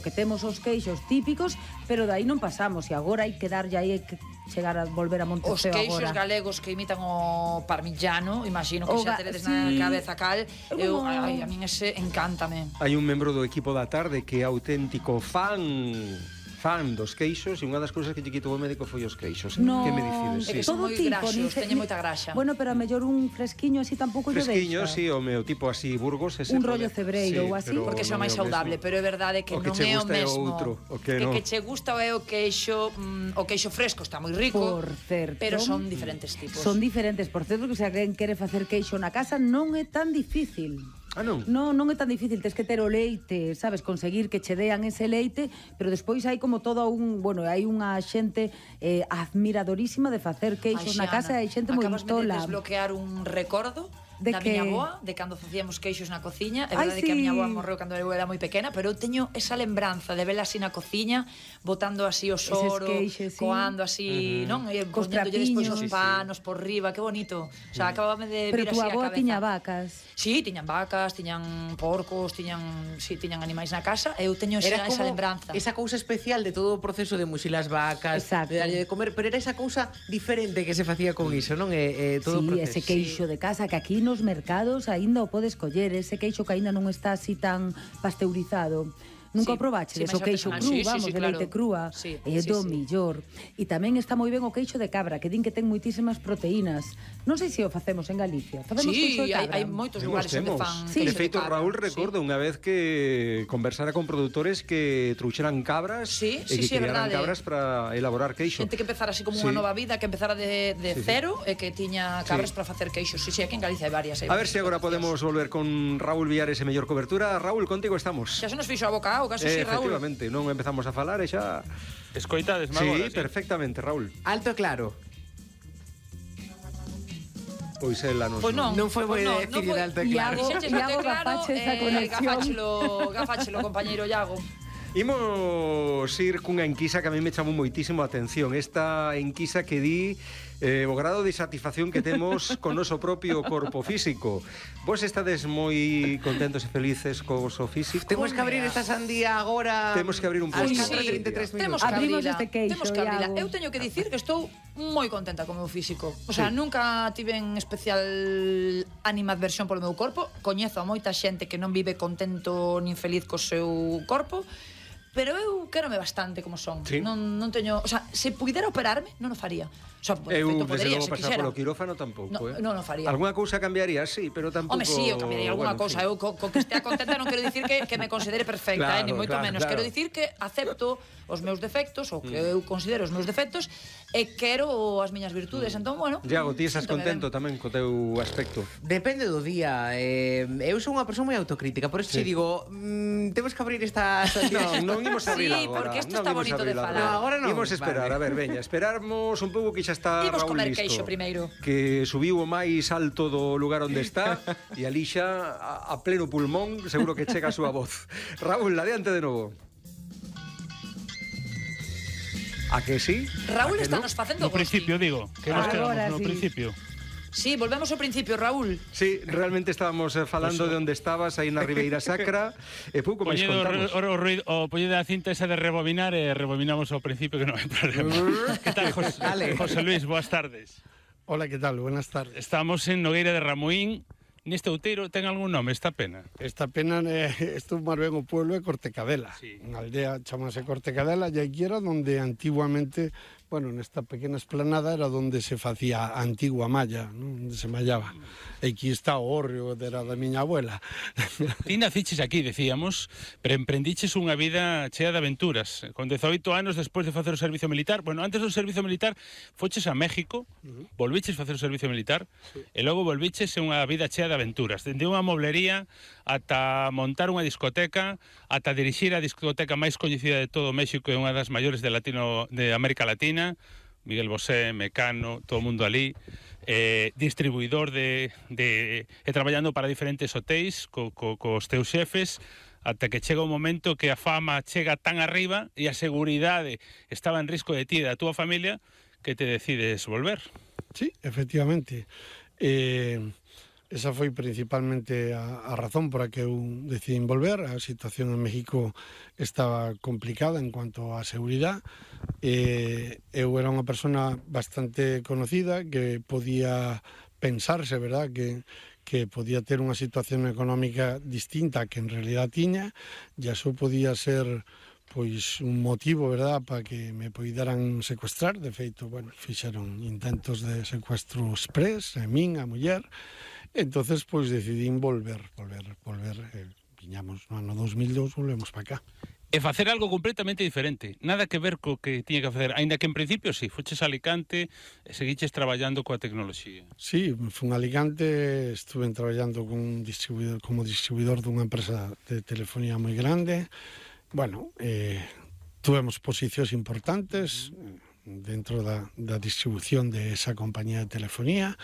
que temos os queixos típicos, pero dai non pasamos, e agora hai que darlle aí que chegar a volver a Montefeo agora. Os queixos agora. galegos que imitan o parmigiano, imagino que xa teredes na cabeza cal, a min ese encántame. Hai un membro do equipo da tarde que é auténtico fan dos queixos, e unha das cousas que lle quitou o médico foi os queixos. No, que me dicides? É que son moi graxos, teñen moita graxa. Bueno, pero a mellor un fresquiño así tampouco lle deixa. Fresquiño, sí, o meu tipo así Burgos, ese un rollo cebreiro ou así, porque xa máis saudable, pero é verdade que non é o mesmo. O que che gusta é o queixo fresco, está moi rico. Por certo. Pero son diferentes tipos. Son diferentes, por certo, que se alguén quere facer queixo na casa non é tan difícil. Ah, non? Non é tan difícil, tes que ter o leite, sabes, conseguir que che dean ese leite, pero despois hai como todo hai unha xente admiradorísima de facer queixos na casa, e hai xente moi tola. Acabas de desbloquear un recordo da miña avoa, de cando facíamos queixos na cociña. É verdade que a miña avoa morreu cando eu era moi pequena, pero eu teño esa lembranza de vela así na cociña, botando así o soro, coando así, non? E poñéndolle despois os panos por riba, que bonito. O sea, acabábame de vir así a cabeza. Pero tu avoa tiña vacas? Sí, tiñan vacas, tiñan porcos, tiñan animais na casa, e eu teño esa lembranza. Esa cousa especial de todo o proceso de muxir as vacas, de darlle de comer, pero era esa cousa diferente que se facía con iso, non? Todo o proceso. Ese queixo de casa que aquí nos mercados aínda o podes coller, ese queixo que aínda non está así tan pasteurizado. Nunca o probaches, o queixo cru, vamos, de leite crúa, é do millor. E tamén está moi ben o queixo de cabra, que din que ten moitísimas proteínas. Non sei se o facemos en Galicia. Facemos queixo de cabra. Hai moitos lugares onde fan queixo de feito, Raúl, recordo unha vez que conversara con produtores que trouxeran cabras e que criaran cabras para elaborar queixo. Xente que empezara así como unha nova vida, que empezara de cero e que tiña cabras para facer queixos. Sí, aquí en Galicia hai varias. A ver se agora podemos volver con Raúl Villares e mellor cobertura. Raúl, contigo estamos. Xa se nos fixo a boca casi sí, Raúl. Efectivamente, non empezamos a falar e xa... Escoitades, agora, sí, perfectamente, Raúl. Alto e claro. Pois ela non... Non foi moi decidir alto e claro. Iago gafache esa conexión. Gafáchelo, compañeiro Iago. Imos ir cunha enquisa que a mí me chamou moitísimo a atención. Esta enquisa que di o grado de satisfacción que temos con noso propio corpo físico. Vos estades moi contentos e felices co vosso físico? Temos que abrir esta sandía agora. Temos que abrir un posto. Abrimos este queixo, Iago. Eu teño que dicir que estou moi contenta co meu físico. O sea, nunca tiven especial animadversión polo meu corpo. Coñezo a moita xente que non vive contento nin feliz co seu corpo, pero eu quérome bastante como son. Non teño, o sea, se puidera operarme, non o faría. O sea, eu, desde logo, pasar polo quirófano tampouco, non o faría. Alguna cousa cambiaría, sí, pero tampouco... Home, sí, eu cambiaría alguna cousa. Eu, co que estea contenta, non quero dicir que me considere perfecta, ni moito menos. Quero dicir que acepto os meus defectos, ou que eu considero os meus defectos, e quero as miñas virtudes. Entón, bueno... Iago, ti estás contento tamén co teu aspecto? Depende do día. Eu sou unha persoa moi autocrítica, por eso te digo, temos que abrir esta... Non imos abrir agora. Sí, porque isto está bonito de falar. Agora non. Imos esperar, a ver, veña, esperarmos un pouco que xa está Raúl listo. Imos comer queixo primeiro. Que subiu o máis alto do lugar onde está e ali xa a pleno pulmón seguro que chega a súa voz. Raúl, adiante de novo. A que sí? Raúl está nos facendo no principio, digo, que nos quedamos no principio. Sí, volvemos ao principio, Raúl. Sí, realmente estábamos falando de onde estabas, aí na Ribeira Sacra, e pouco máis contamos. O poñede a cinta esa de rebobinar e rebobinamos ao principio, que non hai problema. Que tal, José Luis? Boas tardes. Hola, que tal? Buenas tardes. Estamos en Nogueira de Ramuín. Neste outeiro ten algún nome esta pena? Esta pena estou máis ben o pueblo de Cortecadela. Unha aldea chamase Cortecadela, e aquí era onde antiguamente, bueno, nesta pequena esplanada era onde se facía a antigua malla, non? Onde se mallaba. E aquí está o hórreo, era da miña abuela. Ti naciches aquí, decíamos, pero emprendiches unha vida chea de aventuras. Con 18 anos, despois de facer o servicio militar, bueno, antes do servicio militar, foches a México, volviches facer o servicio militar, e logo volviches a unha vida chea de aventuras. Dende unha moblería ata montar unha discoteca, ata dirixir a discoteca máis coñecida de todo México e unha das maiores de América Latina, Miguel Bosé, Mecano, todo o mundo ali, distribuidor e traballando para diferentes hotéis cos teus xefes, ata que chega un momento que a fama chega tan arriba e a seguridade estaba en risco de ti e da túa familia que te decides volver. Sí, efectivamente. Esa foi principalmente a razón por a que eu decidín volver. A situación en México estaba complicada en cuanto a seguridade. Eu era unha persona bastante conocida que podía pensarse, verdad, que podía ter unha situación económica distinta que en realidad tiña, e iso podía ser pois un motivo, verdad, para que me poideran secuestrar. De feito, bueno, fixeron intentos de secuestro express, a min, a muller. Entonces, pois decidín volver. Viñamos no ano 2002, volvemos para cá. E facer algo completamente diferente, nada que ver co que tiña que facer, aínda que en principio sí, foches a Alicante e seguiches traballando coa tecnoloxía. Sí, fun a Alicante, estuve traballando como distribuidor dunha empresa de telefonía moi grande. Bueno, tuvemos posicións importantes dentro da distribución de esa compañía de telefonía.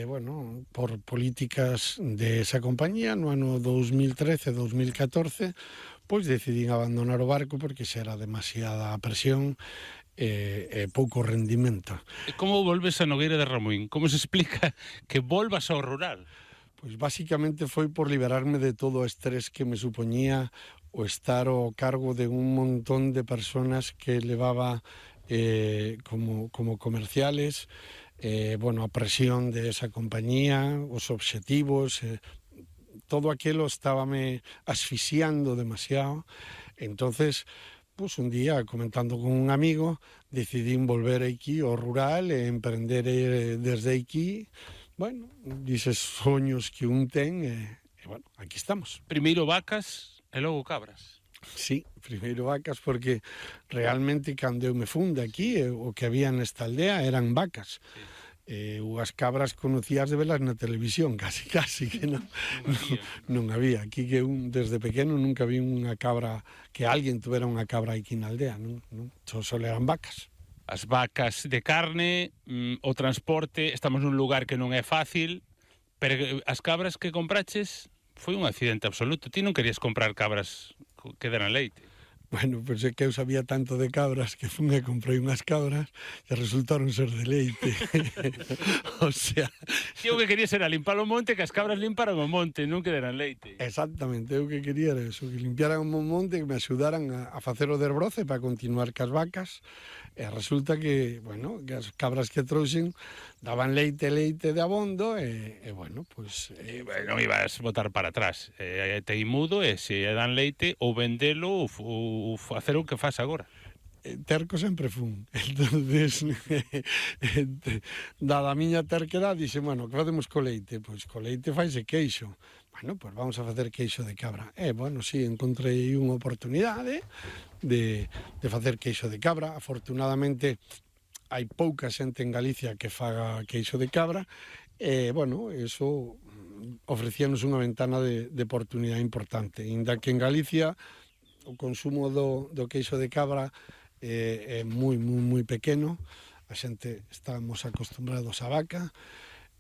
Bueno, por políticas de esa compañía, no ano 2013-2014, pois decidín abandonar o barco porque xa era demasiada presión e pouco rendimento. E como volves a Nogueira de Ramuín? Como se explica que volvas ao rural? Pois basicamente foi por liberarme de todo o estrés que me supoñía o estar ao cargo de un montón de personas que levaba como comerciales. Bueno, a presión de esa compañía, os obxectivos, todo aquilo estábame asfixiando demasiado. Entonces, pues un día, comentando con un amigo, decidín volver aquí ao rural e emprender desde aquí. Bueno, dices soños que un ten e bueno, aquí estamos. Primeiro vacas e logo cabras. Sí, primeiro vacas porque realmente cando eu me fun de aquí o que había nesta aldea eran vacas. As cabras conocías de velas na televisión, casi que non había. Aquí que desde pequeno nunca vi unha cabra, que alguén tuvera unha cabra aquí na aldea, non? Só eran vacas. As vacas de carne, o transporte, estamos nun lugar que non é fácil, pero as cabras que compraches foi un accidente absoluto. Ti non querías comprar cabras que deran leite. Bueno, pensé que eu sabía tanto de cabras que fun e comprei unhas cabras e resultaron ser de leite. O sea... Ti o que querías era limpar o monte, que as cabras limparan o monte, non que deran leite. Exactamente, eu que quería era eso, que limpiaran o monte, que me axudaran a facer o desbroce para continuar cas vacas. E resulta que, bueno, que as cabras que trouxen daban leite de abondo e bueno, pois... Non ibas botar para atrás. Teimudo e se dan leite ou vendelo ou facer o que faz agora. Terco sempre fun. Entonces, dada a miña terquedad, dixe, bueno, que facemos co leite? Pois co leite faise queixo. Bueno, pois vamos a facer queixo de cabra. Bueno, sí, encontrei unha oportunidade de facer queixo de cabra. Afortunadamente, hai pouca xente en Galicia que faga queixo de cabra. Bueno, eso ofrecíanos unha ventana de oportunidade importante. Inda que en Galicia o consumo do queixo de cabra é moi pequeno, a xente estamos acostumbrados á vaca.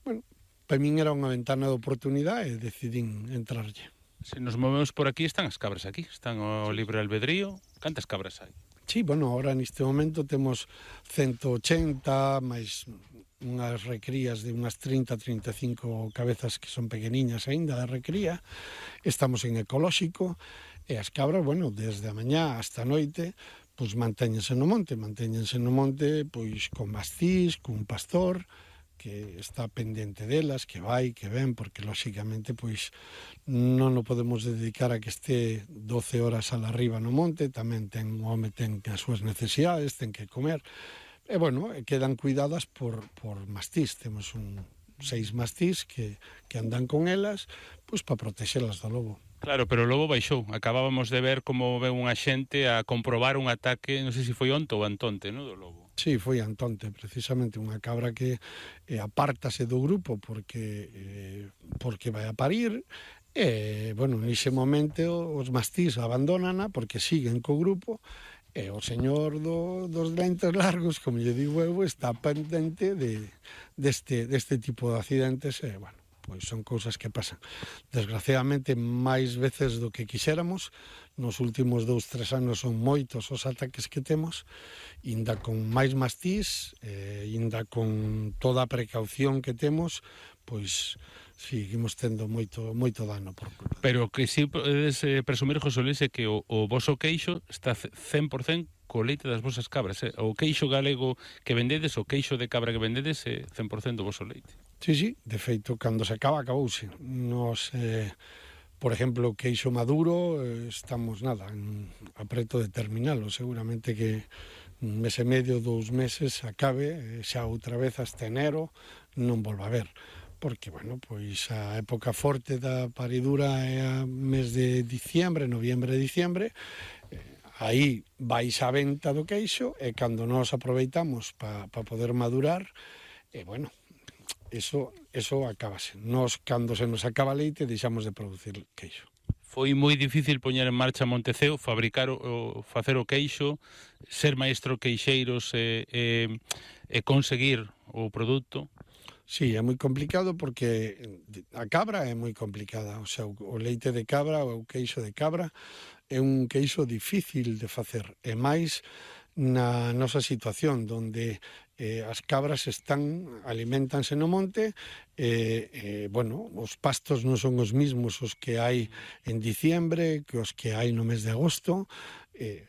Bueno, para min era unha ventana de oportunidade e decidín entrarlle. Se nos movemos por aquí, están as cabras aquí, están o libre albedrío. Cantas cabras hai? Sí, bueno, ahora neste momento temos 180, máis unhas recrías de unhas 30-35 cabezas que son pequeniñas aínda de recría. Estamos en ecolóxico e as cabras, bueno, desde a mañá hasta a noite, pois mantéñense no monte, pois con mastís, cun pastor, que está pendente delas, que vai, que ven, porque lóxicamente pois non o podemos dedicar a que este 12 horas a la arriba no monte, tamén o home ten as súas necesidades, ten que comer, e bueno, quedan cuidadas por mastís. Temos 6 mastís que andan con elas, pois para protexelas do lobo. Claro, pero o lobo baixou. Acabábamos de ver como veu unha xente a comprobar un ataque, non sei se foi onte ou antonte, non, do lobo. Sí, foi antonte, precisamente, unha cabra que apártase do grupo porque vai a parir. Bueno, nese momento os mastís abandónana porque siguen co grupo e o señor dos lentes largos, como lle digo eu, está pendente deste tipo de accidentes e, bueno, pois son cousas que pasan. Desgraciadamente, máis veces do que quixéramos, nos últimos 2-3 anos son moitos os ataques que temos, inda con máis mastís, inda con toda a precaución que temos, pois seguimos tendo moito dano por culpa. Pero que si podes presumir, José Luis, é que o voso queixo está 100% co leite das vosas cabras. O queixo galego que vendedes, o queixo de cabra que vendedes é 100% do voso leite. Sí, de feito, cando se acabouse. Nos, por exemplo, o queixo maduro, estamos, a preto de terminalo. Seguramente que un mes e medio, 2 meses, acabe, xa outra vez hasta enero, non volva a ver. Porque, bueno, pois a época forte da paridura é a mes de diciembre, noviembre, diciembre, aí vais a venta do queixo e cando nos aproveitamos para poder madurar, bueno, eso acabase. Nos, cando se nos acaba leite, deixamos de producir queixo. Foi moi difícil poñer en marcha Monteceo, fabricar facer o queixo, ser maestro queixeiros e conseguir o produto? Sí, é moi complicado porque a cabra é moi complicada, o sea, o leite de cabra ou o queixo de cabra é un queixo difícil de facer, e máis na nosa situación, onde as cabras aliméntanse no monte, bueno, os pastos non son os mismos os que hai en diciembre que os que hai no mes de agosto.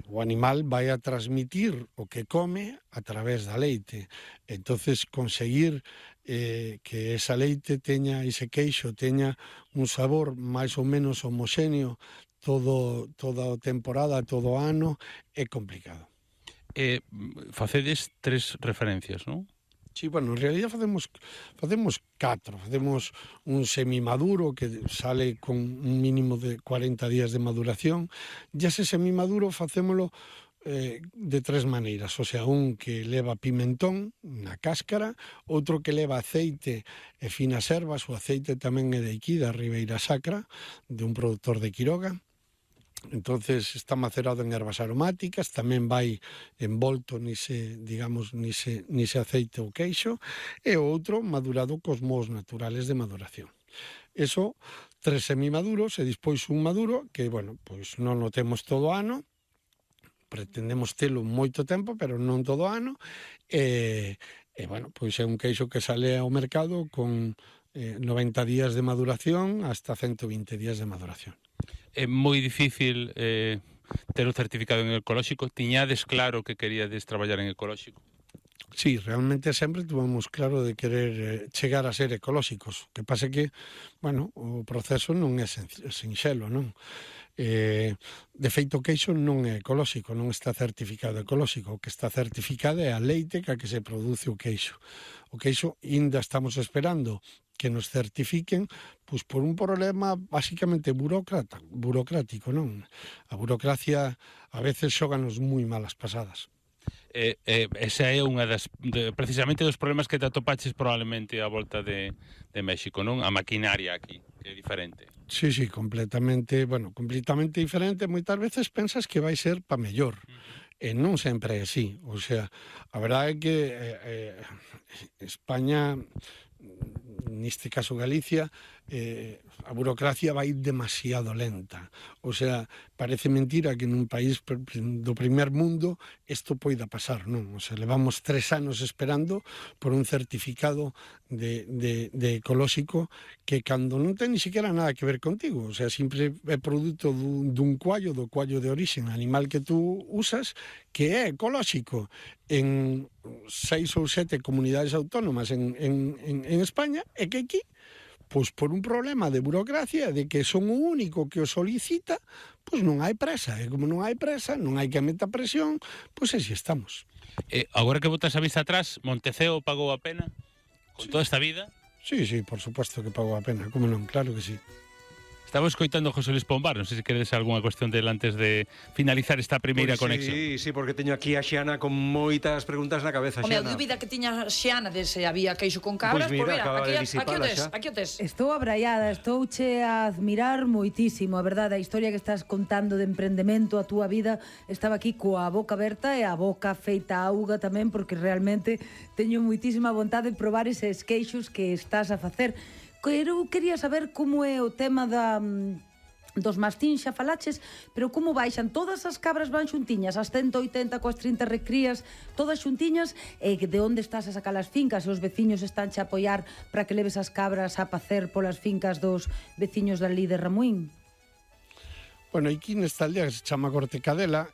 O animal vai a transmitir o que come a través da leite. Entonces, conseguir que esa leite teña, ese queixo teña un sabor máis ou menos homoxéneo toda a temporada, todo o ano, é complicado. Facedes 3 referencias, non? Sí, bueno, en realidad facemos 4. Facemos un semimaduro que sale con un mínimo de 40 días de maduración. E ese semimaduro facémolo de 3 maneiras, o sea, un que leva pimentón na cáscara, outro que leva aceite e finas ervas, o aceite tamén é de aquí, da Ribeira Sacra, de un produtor de Quiroga. Entonces está macerado en ervas aromáticas, tamén vai envolto nise aceite ou queixo, e o outro madurado cos moos naturales de maduración. Eso, 3 semimaduros e despois un maduro que, bueno, pois non o temos todo o ano, pretendemos telo moito tempo, pero non todo o ano, e bueno, pois é un queixo que sale ao mercado con 90 días de maduración hasta 120 días de maduración. É moi difícil ter o certificado en ecolóxico. Tiñades claro que queríades traballar en ecolóxico? Sí, realmente sempre tuvemos claro de querer chegar a ser ecolóxicos. O que pasa que, bueno, o proceso non é sinxelo, non? De feito, o queixo non é ecolóxico, non está certificado ecolóxico. O que está certificado é a leite que se produce o queixo. O queixo ainda estamos esperando que nos certifiquen, pois por un problema basicamente burocrático, non? A burocracia a veces xóganos moi malas pasadas. Esa é unha precisamente dos problemas que te atopaches probablemente a volta de México, non? A maquinaria aquí, que é diferente. Sí, completamente diferente. Moitas veces pensas que vai ser pa mellor. E non sempre é así. O sea, a verdade é que España, neste caso Galicia, a burocracia vai demasiado lenta. O sea, parece mentira que nun país do primer mundo isto poida pasar, non? O sea, levamos 3 anos esperando por un certificado de ecolóxico que cando non ten ni siquiera nada que ver contigo. O sea, sempre é produto do cuallo de orixen animal que tú usas, que é ecolóxico en 6 ou 7 comunidades autónomas en España, e que aquí, pois por un problema de burocracia, de que son o único que o solicita, pois non hai presa. E como non hai presa, non hai que meta presión, pois así estamos. Agora que botas a vista atrás, Monteceo pagou a pena? Con toda esta vida? Sí, por supuesto que pagou a pena, como non, claro que sí. Estaba escoitando José Luis Pombar, non sei se queredes algunha cuestión del antes de finalizar esta primeira conexión. Sí, porque teño aquí a Xiana con moitas preguntas na cabeza, Xiana. A dúbida que tiña Xiana de se había queixo con cabras, pois mira, aquí o tes. Estou abraiada, estouche a admirar moitísimo, a verdade, a historia que estás contando de emprendemento, a túa vida, estaba aquí coa boca aberta e a boca feita auga tamén, porque realmente teño moitísima vontade de probar eses queixos que estás a facer. Quería saber como é o tema dos mastín xa falaches, pero como baixan todas as cabras van xuntiñas, as 180 coas 30 recrías, todas xuntiñas, e de onde estás a sacar as fincas, e os veciños están a apoiar para que leves as cabras a pacer polas fincas dos veciños dali de Ramuín? Bueno, aquí nesta aldea que se chama Cortecadela,